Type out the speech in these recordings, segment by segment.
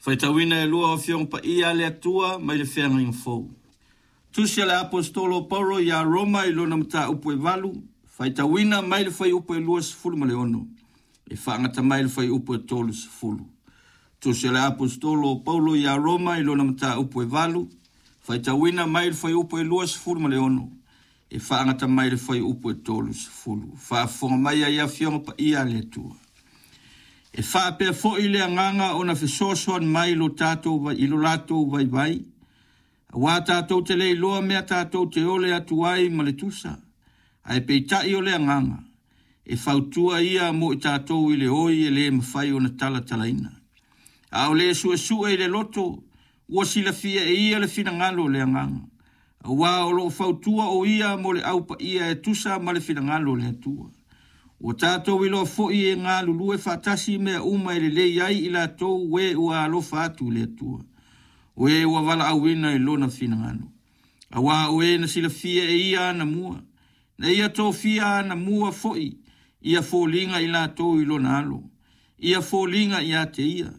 Faitauina e lua o Afioga Paia a le Atua mai le Feagaiga Fou. Tusi a le Aposetolo o Paulo ia Roma i lona mataupu e 8, faitauina mai le fuaiupu e 26 e faagata mai le fuaiupu e 30. Tusi a le Aposetolo o Paulo ia Roma i lona mataupu e 8, faitauina mai le fuaiupu e 26 e faagata mai le fuaiupu e 30. Faafofoga mai ai Afioga Paia a le Atua. E faapea foi le agaga ona fesoasoani mai i lo tatou i lo latou vaivai, auā tatou te le iloa mea tatou te ole atu ai ma le tusa, ae peitai o le agaga, e fautua ia mo i tatou i le oi e le mafai ona talatalaina. A o le suesue i le loto, ua silafia e ia le finagalo o le agaga, auā o lo o fautua o ia mo le au paia e tusa ma le finagalo o le Atua. Ua tatou iloa foi e galulue faatasi mea uma e lelei ai i latou e ua alofa atu i le Atua, o e ua valaauina i lona finagalo. Auā o e na silafia e ia anamua, na ia tofia anamua foi ia foliga i latou i lona alo, ia foliga ia te ia,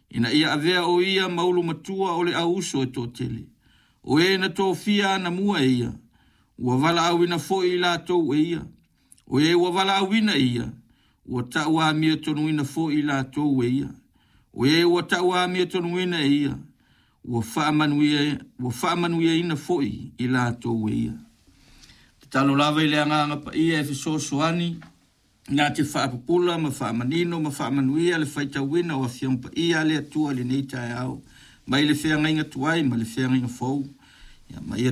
ina ia avea o ia ma ulu matua o le au uso e toatele. O e na tofia anamua e ia, ua valaauina foi i latou e ia. O e ua valaauina e ia, ua tauamiatonuina foi i latou e ia. O e ua tauamiatonuina e ia, ua faamanuiaina foi i latou e ia. Tatalo lava i le agaga paia e fesoasoani na te faapupula ma faamanino ma faamanuia le faitauina o Afioga Paia a le Atua i lenei taeao, mai le feagaiga tuai ma le feagaiga fou. Ia, ma ia